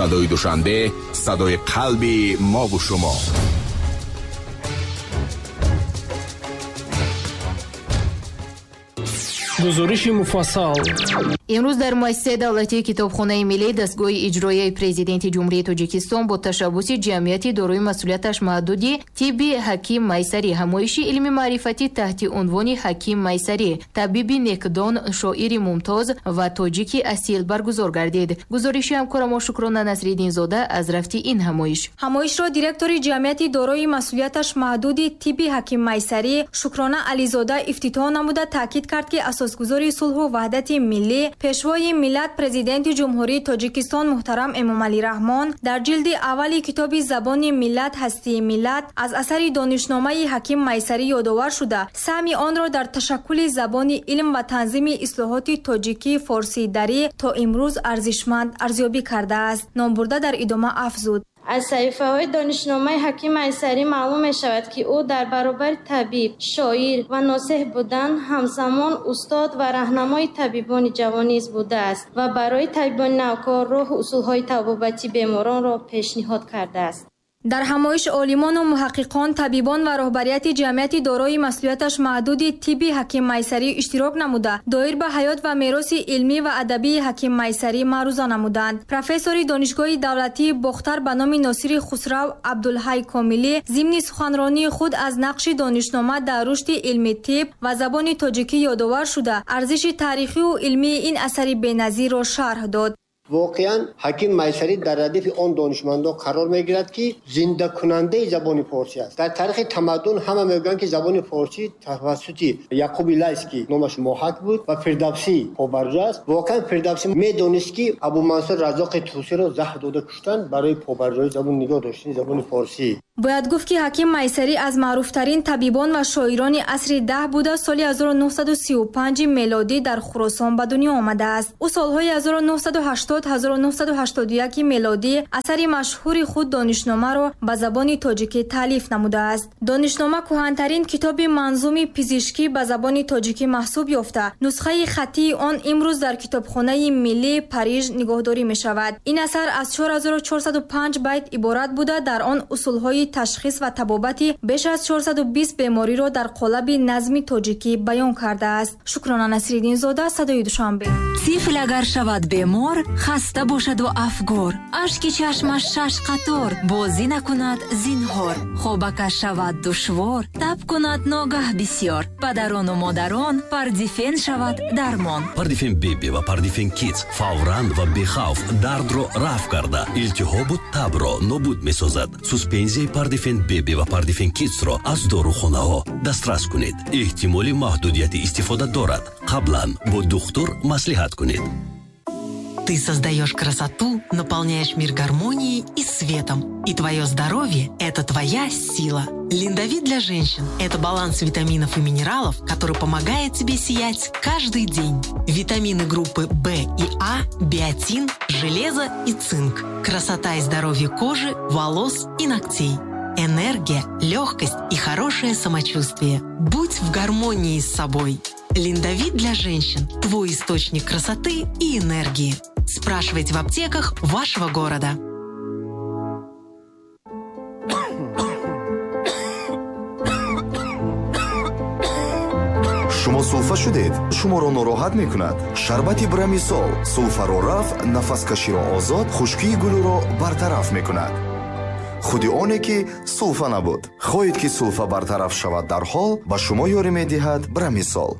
Садои Душанбе, садои қалби мову шумо. Гузориши муфассал. Имрӯз дар муассисаи давлатии китобхонаи миллӣ дастгоҳи иҷроияи президенти Ҷумҳурии Тоҷикистон бо ташаббуси ҷамъияти дорои масъулияташ маҳдуди тибби Ҳаким Майсарӣ ҳамоиши илми маърифатӣ таҳти унвони Ҳаким Майсарӣ, табиби некдон, шоири мумтоз ва тоҷики асил баргузор гардид. Гузориши ҳамкорамо Шукрона Насриддинзода аз рафти ин ҳамоиш. Ҳамоишро директори ҷамъияти дорои масъулияташ маҳдуди тибби Ҳаким Майсарӣ Шукрона Ализода ифтитоҳ намуда таъкид кард, ки асосгузори сулҳу ваҳдати миллӣ, пешвои миллат, президенти Ҷумҳурии Тоҷикистон муҳтарам Эмомалӣ Раҳмон дар ҷилди аввали китоби Забони миллат, ҳастии миллат аз асари донишномаи Ҳаким Майсарӣ ёдовар шуда, саҳми онро дар ташаккули забони илм ва танзими ислоҳоти тоҷикӣ форсии дарӣ то имрӯз арзишманд арзёбӣ кардааст. Номбурда дар идома афзуд: Аз саҳифаҳои донишномаи Ҳаким Майсарӣ маълум мешавад, ки ӯ дар баробари табиб, шоир ва носеҳ будан, ҳамзамон устод ва раҳнамои табибони ҷавон низ будааст ва барои табибони навкор роҳу усулҳои табобати беморонро пешниҳод кардааст. Дар ҳамоиш олимону муҳаққиқон, табибон ва роҳбарияти ҷамъияти дорои масъулияташ маҳдуди тибби Ҳаким Майсарӣ иштирок намуда, доир ба ҳаёт ва мероси илмӣ ва адабии Ҳаким Майсарӣ маъруза намуданд. Профессори Донишгоҳи давлатии Бохтар ба номи Носири Хусрав Абдулҳай Комилӣ зимни суханронии худ аз нақши донишнома дар рушди илми тиб ва забони тоҷикӣ ёдовар шуда, арзиши таърихию илмии ин асари беназирро шарҳ дод. Воқеан Ҳаким Майсарӣ дар радифи он донишмандон қарор мегирад, ки зиндакунандаи забони форсӣ аст. Дар таърихи тамаддун ҳама мегӯянд, ки забони форсӣ тавассути Яқуби Лайс, ки номаш Моҳак буд, ва Фирдавсӣ побарҷо аст. Воқеан Фирдавсӣ медонист, ки Абумансур Раззоқи Тусиро заҳр дода куштанд барои побарҷои забон, нигоҳ доштани забони форсӣ. Бояд гуфт, ки Ҳаким Майсарӣ аз маъруфтарин табибон ва шоирони асри 10 буда, соли 1935 мелодӣ дар Хуросон ба дунё омадааст. Ӯ солҳои 1980-1981 мелодӣ асари машҳури худ донишномаро ба забони тоҷикӣ таълиф намудааст. Донишнома кӯҳантарин китоби манзуми пизишкӣ ба забони тоҷикӣ маҳсуб ёфта, нусхаи хаттии он имрӯз дар китобхонаи миллии Париж нигоҳдорӣ мешавад. Ин асар аз 4405 байт иборат буда, дар он усулҳои ташхис ва табобати беш аз 420 бемориро дар қолаби назми тоҷикӣ баён кардааст. Шукрона Насриддинзода, Садои Душанбе. Тифл агар шавад бемор, хаста бошаду афгор, ашки чашмаш шаш қатор, бозӣ накунад зинҳор, хобакаш шавад душвор, таб кунад ногаҳ бисёр, падарону модарон Пардифен шавад дармон. Пардифен Беби ва Пардифен Кидс фавран ва бехавф дардро рафъ карда, илтиҳобу табро нобуд месозад. Суспензияи Пардифен Беби ва Пардифен Кидсро аз дорухонаҳо дастрас кунед. Эҳтимоли маҳдудияти истифода дорад. Қаблан бо духтур маслиҳат кунед. Ты создаешь красоту, наполняешь мир гармонией и светом. И твое здоровье – это твоя сила. Линдовит для женщин – это баланс витаминов и минералов, который помогает тебе сиять каждый день. Витамины группы В и А, биотин, железо и цинк. Красота и здоровье кожи, волос и ногтей. Энергия, легкость и хорошее самочувствие. Будь в гармонии с собой. Линдовит для женщин – твой источник красоты и энергии. Спрашивайте в аптеках вашего города. Шумо сулфа шудед, шуморо нороҳат мекунад. Шарбати Брамисол сулфаро рафъ, нафаскаширо озод, хушкии гулӯро бартараф мекунад. Худи оне ки сулфа набуд. Хоҳед, ки сулфа бартараф шавад дарҳол, ба шумо ёрӣ медиҳад Брамисол.